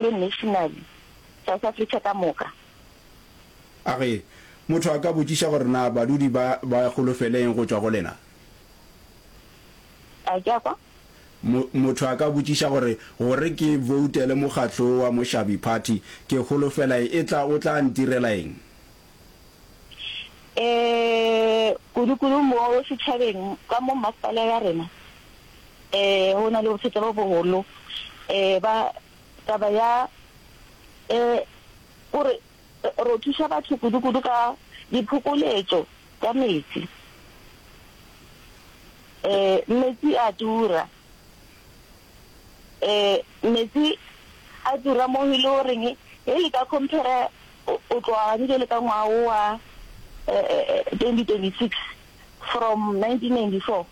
Le nationally, South Africa ka moka. A re, Motho a ka botšiša gore na badudi ba ba holofele eng go tšwa go lena? A ke a kwa? Mo, motho a ka botšiša gore, gore ke voutele mokgatlo wo wa Moshabi Party, ke holofela e tla, o tla ntirela eng? E, kudu-kudu mo setšhabeng, ka mo mmasepala ya rena, e, go na le bothata bo bogolo, e, ba, Taba ya e gore ro thuša batho kudu-kudu ka diphokoletšo tša metsi. E, metsi a tura. E, metsi a tura mo e le goreng ge le ka compare o tloga gane bjale ka ngwaga wo wa 2026 from 1994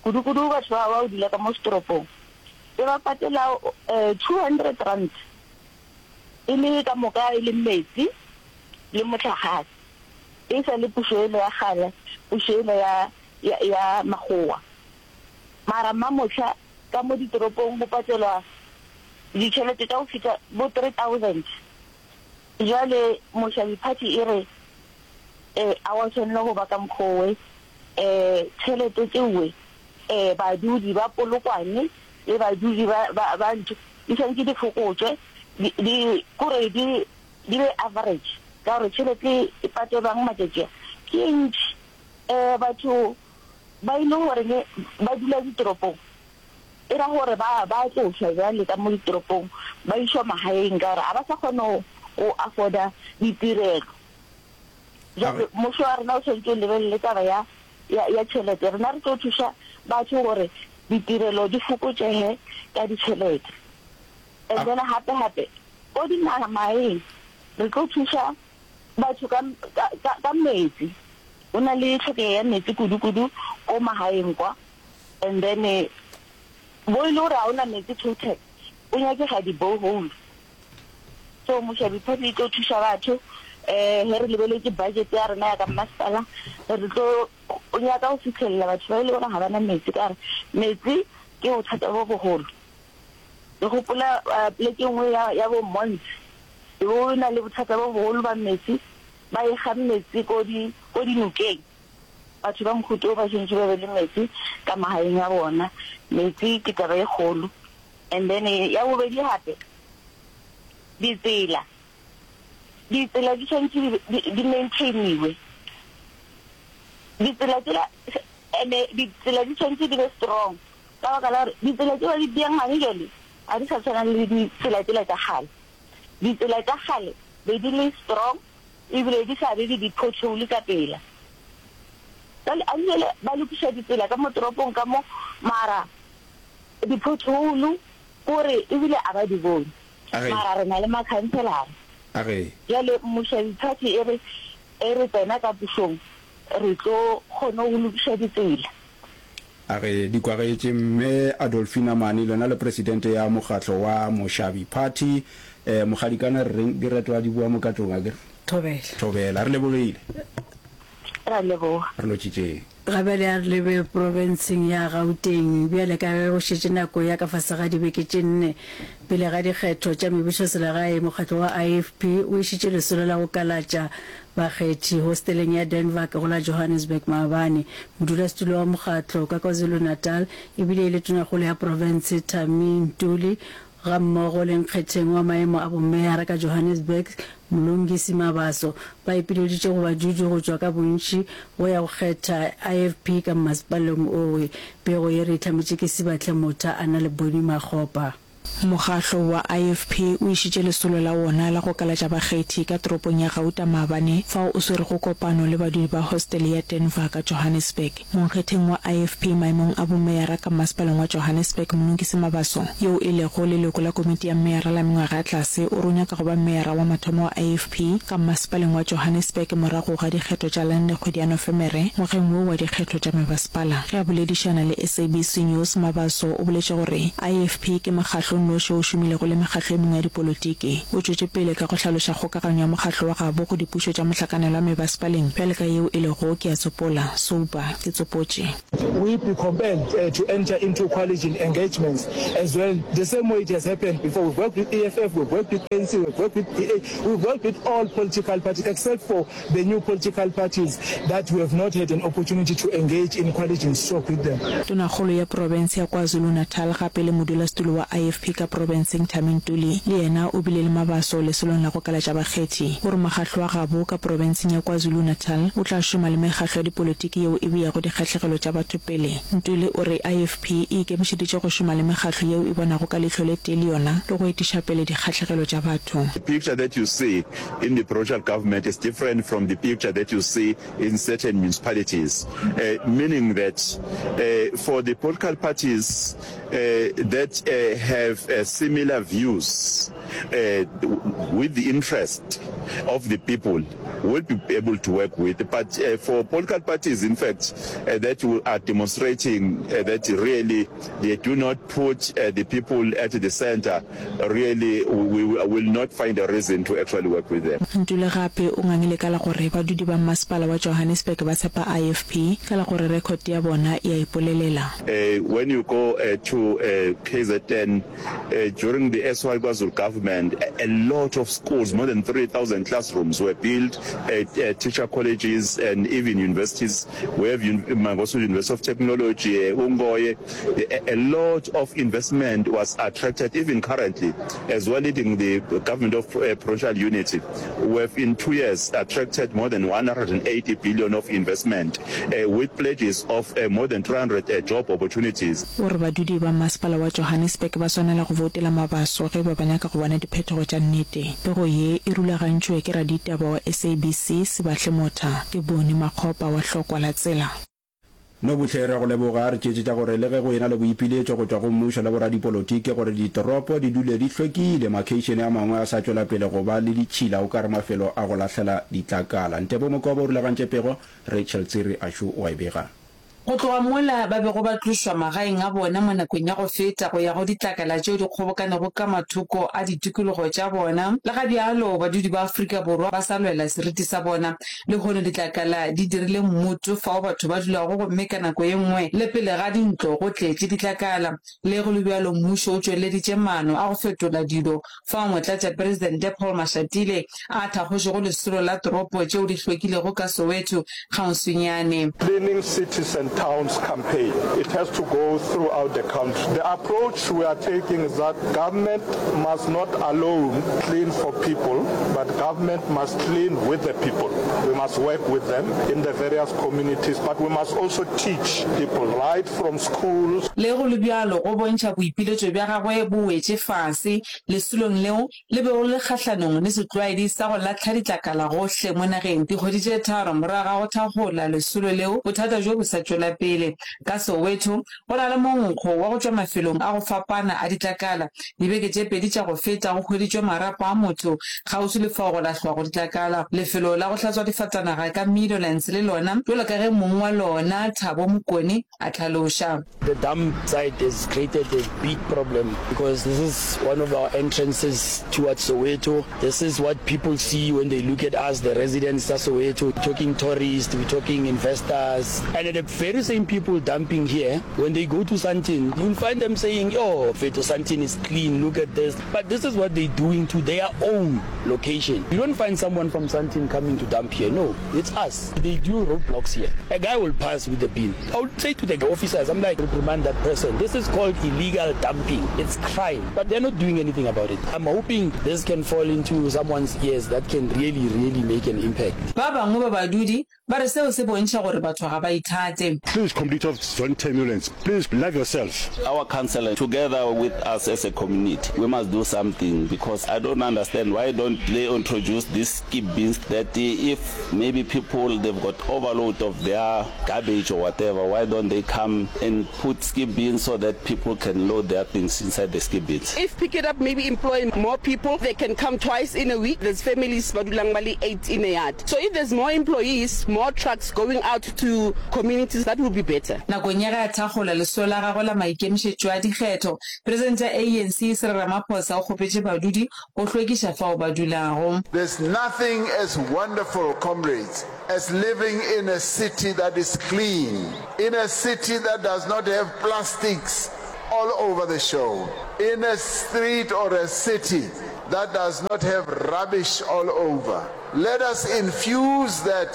kudu-kudu batho ba ba go dula ka mo setoropong. Be ba patela R200 e le ka moka e le metsi le mohlagase. E sa le pušo ele ya kgale, pušo ele ya ya ya makgowa. Mara mamohla ka mo ditoropong go patelwa ditšhelete tša go fihla bo 3000. Bjale Moshabi Party e re a wa swanela go ba ka mokgwa owe, tšhelete tšeowe Ee, badudi ba Polokwane le badudi ba, ba, ba ntho di swanetše di fokotšwe, di, di, kore di, di be average, ka gore tšhelete e patelwang matšatši a ke e ntši. Ee, batho ba e le goreng ba dula ditoropong, e ra gore ba, ba tlošwa bjale ka mo ditoropong ba išwa magaeng ka gore ga ba sa kgona go, go afforda ditirelo. Bjale mmušo wa rena o swanetše o lebelele taba ya ya, ya tšhelete. Rena re tlo thuša batho gore ditirelo di fokotšege ka ditšhelete. And then gape gape ko dinagamaeng re tlo thuša batho ka, ka, ka, ka metsi. Go na le tlhokego ya metsi kudu-kudu ko magaeng kwa. And then bo e le gore ga o na metsi total, o nyakega di-borehole. So Moshabi Party e tlo thuša batho. Um ge re lebeletše budget ya rena ya ka mmasepala, re tlo nyaka go fihlelela batho ba e le gore ga ba na metsi, ka gore metsi ke bothata bo bogolo. Ke gopola poleke e nngwe ya, ya bo Mons, e be o na le bothata bo bogolo ba metsi, ba ekga metsi ko di, ko dinokeng. Batho ba mohuta wo ba swanetše ba be le metsi ka magaeng a bona. Metsi ke taba e kgolo. And then ya bobedi gape, ditsela. Ditsela di swanetše di, di maintainiwe. Ditsela tšela, and-e ditsela di swanetše di be strong, ka baka la gore ditsela tše ba di beang gane bjale ga di sa tshwana le ditsela tšela tša kgale. Ditsela tša kgale be di le strong ebile di sa be le di-pothole ka pela. Bjale a bjale ba lokiša ditsela ka mo toropong ka mo, mara di-pothole kore ebile a ba di bone. Mara re na le makhanselara. Bjale Mmušo Party e re e re tsena ka pušong re tlo kgona go lokiša ditsela. A re di kwagetše Mme Adolfina Mani lona le presidente ya mokgatlo wa Moshabi Party. Eh, Mokgadikana re reng di retwa di boa mo katlong akere? Thobela. Thobela. Re lebogile. Ra leboga. Re lotšitšeng. Ga bjale a re lebe profenseng ya Gauteng. Bjale ka ge go šetše nako ya ka fase ga dibeke tše nne pele ga dikgetho tša mebušoselegae, mokgatlo wa IFP o išitše lesolo la go kalatša bakgethi hosteleng ya Denver go la Johannesburg maabane. Modulasetulo wa mokgatlo ka KwaZulu-Natal ebile e le tonakgolo ya profense Thami Ntuli gammogo le nkgetheng wa maemo a bomeyara ka Johannesburg Mlungisi Mabaso ba ipileditše go badudi go tšwa ka bontši go ya go kgetha IFP ka mmasepaleng owe. Pego ye re e hlametše ke Sibahle Motha a na le Bonnie Makgopa. Mokgahlo wa IFP o išitše lesolo la wona la go kalatša bakgethi ka toropong ya Gauta maabane fao o swerego kopano le badudi ba hostele ya Denver ka Johannesburg. Monkgetheng wa IFP maemong a bomeyara ka mmasepaleng wa Johannesburg Mlungisi Mabaso, yoo e lego leloko la komiti ya meyara la mengwaga ya tlase o re o nyaka go ba meyara wa mathomo wa IFP ka mmasepaleng wa Johannesburg morago ga dikgetho tša Lande kgwedi ya Nofemere ngwageng wo wa dikgetho tša mebasepala. Ge a boledišana le SABC News, Mabaso o boletše gore IFP ke mokgahlo. o nnoši wo o šomilego le mekgahlo e mengwe ya dipolotiki. O tšwetše pele ka go hlaloša kgokaganyo ya mokgahlo wa gabo go dipušo tša mohlakanelwa mebasepaleng bjale ka yeo e lego, ke a tsopola, Soupa, ke tsopotše. We be compelled to enter into coalition engagements as well, the same way it has happened before. We've worked with EFF, we've worked with ANC, we've worked with DA, we've worked with all political parties except for the new political parties that we have not had an opportunity to engage in coalition talk with them. Tonakgolo ya profense ya KwaZulu-Natal gape le modulasetulo wa IFP ka profenseng Thami Ntuli le yena o bile le mabaso lesolong la go kalatša bakgethi. O re mokgahlo wa gabo ka profenseng ya KwaZulu-Natal o tla šoma le mekgahlo ya dipolotiki yeo e beago dikgahlegelo tša batho pele. Ntuli o re IFP e ikemišeditše go šoma le mekgahlo yeo e bonago ka leihlo le tee le yona le go etiša pele dikgahlegelo tša batho. The picture that you see in the provincial government is different from the picture that you see in certain municipalities, meaning that for the political parties that have similar views with the interest of the people will be able to work with. But for political parties, in fact, that are demonstrating that really they do not put the people at the center, Really, we will not find a reason to actually work with them. Ntuli gape o ngangile ka la gore badudi ba mmasepala wa Johannesburg ba tshepa IFP ka la gore record ya bona e a ipolelela. When you go to KZN during the SY KwaZulu government, a lot of schools, more than 3,000 classrooms were built, teacher colleges and even universities. We have Mangosuthu University of Technology, Ungoye. A, a lot of investment was attracted even currently as well leading the government of uh, provincial unity. We have in two years attracted more than 180 billion of investment uh, with pledges of uh, more than 300 uh, job opportunities. O re badudi ba masepala wa Johannesburg ba swanela go voutela Mabaso ge ba ba nyaka go bona diphetogo tša nnete. Pego ye e rulagantšwe ke raditaba wa SABC Sibahle Motha. Ke Boni Makgopa wa Hlokwa la Tsela. Nobuhle, re a go leboga. Re tšeetše tša gore le ge go ena le boipiletšo go tšwa go mmušo le boradipolotiki gore ditoropo di dule di hlwekile, makheišene a mangwe a sa tšwela pele go ba le ditšhila o ka re mafelo a go lahlela ditlakala. Ntebo Mokobo o rulagantše pego, Rachel Tsiri Ashu o a e bega. Go tloga mola ba bego ba tlošwa magaeng a bona mo nakong ya go feta go ya go ditlakala tšeo di kgobokanego ka mathoko a ditikologo tša bona, le ga bjalo badudi ba Afrika Borwa ba sa lwela seriti sa bona. Lehono ditlakala di dirile mmoto fao batho ba dulago gomme ka nako ye nngwe le pele ga dintlo go tletše ditlakala. Le go le bjalo mmušo o tšweleditše maano a go fetola dilo fao Motlatšapresidente Paul Mashatile a thakgošego lesolo la toropo tšeo di hlwekilego ka Soweto kgauswinyane. Cleaning Cities and Towns campaign. It has to go throughout the country. The approach we are taking is that government must not alone clean for people, but government must clean with the people. We must work with them in the various communities, but we must also teach people right from schools. Le go le bjalo, go bontšha boipiletšo bja gagwe bo wetše fase lesolong leo le bego le le kgahlanong le setlwaedi sa go lahla ditlakala gohle mo nageng. Dikgwedi tše tharo morago ga go thakgola lesolo leo, bothata bjo bo sa tšwela pele. Ka Soweto, Go na le monkgo wa go tšwa mafelong a go fapana a ditlakala. Dibeke tše pedi tša go feta go hweditšwe marapo a motho kgauswi le fao go lahlwago ditlakala. Lefelo la go hlatswa difatanaga ka Meadowlands le lona, bjalo ka ge mong wa lona, Thabo Mokone, a hlaloša. The dump site has created a big problem because this is one of our entrances towards Soweto. This is what people see when they look at us, the residents tsa Soweto, we're talking tourists, we're talking investors, and the very same people dumping here, when they go to Sandton, you'll find them saying, oh, Feto, Sandton is clean, look at this. But this is what they're doing to their own location. You don't find someone from Sandton coming to dump here. No, it's us. They do roadblocks here. A guy will pass with the bin. I would say to the officers, I'm like, reprimand that person. This is called illegal dumping. It's crime. But they're not doing anything about it. I'm hoping this can fall into someone's ears that can really, really make an impact. Ba bangwe ba badudi ba re seo se bontšha gore batho ga ba ithate. Please complete of zone turbulence. Please love yourself. Our councillor together with us as a community we must do something because I don't understand why don't they introduce this skip bins that if maybe people they've got overload of their garbage or whatever why don't they come and put skip bins so that people can load their things inside the skip bins. If pick it up maybe employ more people they can come twice in a week there's families ba dulang ba le eight in a yard so if there's more employees more. more trucks going out to communities that will be better. Nakong ya ge a thakgola lesolo la gagwe la maikemišetšo a dikgetho, Presidente ya ANC Cyril Ramaphosa o kgopetše badudi go hlwekiša fao ba dulago. There's nothing as wonderful, comrades, as living in a city that is clean, in a city that does not have plastics all over the show, in a street or a city that does not have rubbish all over. Let us infuse that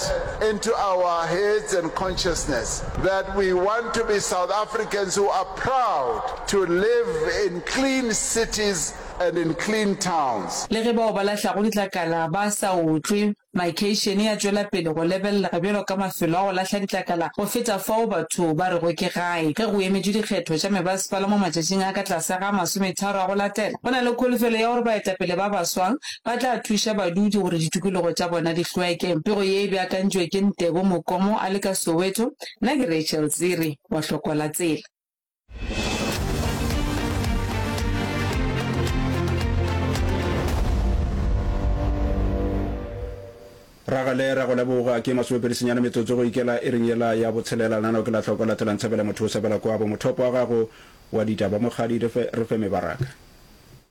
into our heads and consciousness that we want to be South Africans who are proud to live in clean cities and in clean towns. Le ge bao ba lahlago ditlakala ba sa otlwe, makheišene a tšwela pele go lebelelega bjalo ka mafelo a go lahla ditlakala go feta fao batho ba rego ke gae. Ge go emetšwe dikgetho tša mebasepala mo matšatšing a ka tlase ga masometharo a go latela, go na le kholofelo ya gore baetapele ba baswa ba tla thuša badudi gore ditikologo tša bona di hlweke. Pego ye e beakantšwe ke Ntebo Mokomo a le ka Soweto, nna ke Rachel Tsiri wa Hlokwa la Tsela. Ragale ra go leboga ke masomepedi senyane metsotso go ikela iring yela ya botshelela lenaneo ke la hloko latelang tshebela motho o sebela kwabo mothopo wa gago wa ditaba mokgadi re fe re fe mebaraka.